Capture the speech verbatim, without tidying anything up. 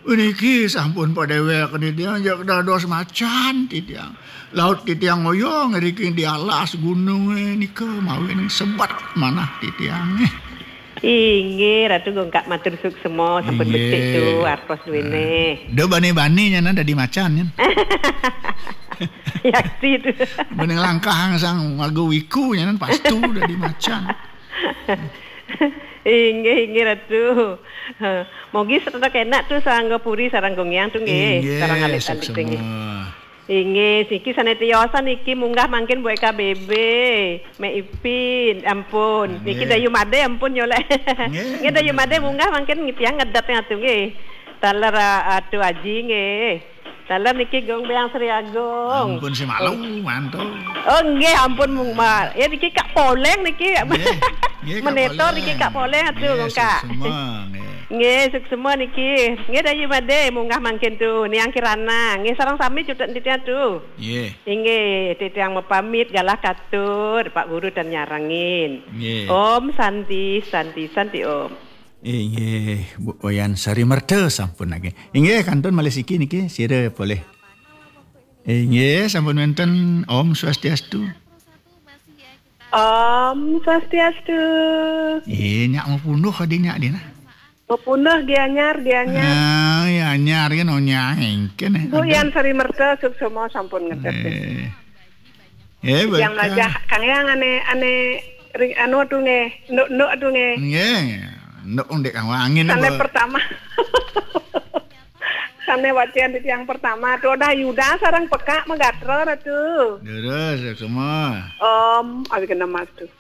Niki sampun padéwék titiang, jak dados macan titiang. Laut titiang ngoyong ngriki di alas gunung, eh, nika mawinan sebat manah titiang. Inggih, Ratu Gongkak matur suksema, sampun becik tu, artos duéné. Da bani-bani nyanan dadi macan, nyan. Yakti tu. Bani nglangkahang sang warga wiku nyanan pastu dadi macan. Inggih, inggih, Ratu. Mogi sedek enak tu sareng puri, sareng gungyang tu nggih, inggih, sareng alit-alit suksema. Inggih, niki sané tiosan niki munggah mangkin buat K B B, Mek Ipin, ampun. Niki Dayu Madé ampun nyolek. Nggih. Nggih, Dayu Madé munggah mangkin ngitiang ngedet ngatu nggih. Taler, ah, Atu Aji nggih. Taler niki Gung Biang Sri Agung. Ampun si malu mantu. Oh nggih, ampun mung ma-, ya niki Kak Poleng niki. Nggih, nggih, Kak Menetor Poleng. Niki Kak Poleng atu, nggih, Kak. Suksema, nggih. Nggih, suksema niki. Nggih, Dayu Madé munggah mangkin tu. Niang Kirana. Nggih, sareng sami cutet titiang tu. Nggih. Inggih, titiang mapamit galah katur, Pak Guru tan nyarengin. Nggih. Om Santi, Santi, Santi Om. Inggih, Bu Wayan Sari Merta sampun lagi. Inggih, kantun malih siki niki, sira polih. Inggih, sampun wénten. Om Swastiastu. Om Swastiastu. Eh, nyak mapunduh adi nyak dina. Mapunduh Gianyar, Gianyar. Ah, Gianyar kan onyang engken, eh. Bu Yan Sari Merta suksema sampun ngedet. Eh. Eh, yang baca. Majah Kang Yang ané, ané ring anu tu nggih, nduk-nduk tu nggih. Nggih. Nduk ndek Kang Wangin. Sané pertama. Sané wacén titiang pertama tu udah Yuda sareng Pekak Magatra tu. Terus semua. Om, abi kena mas tu.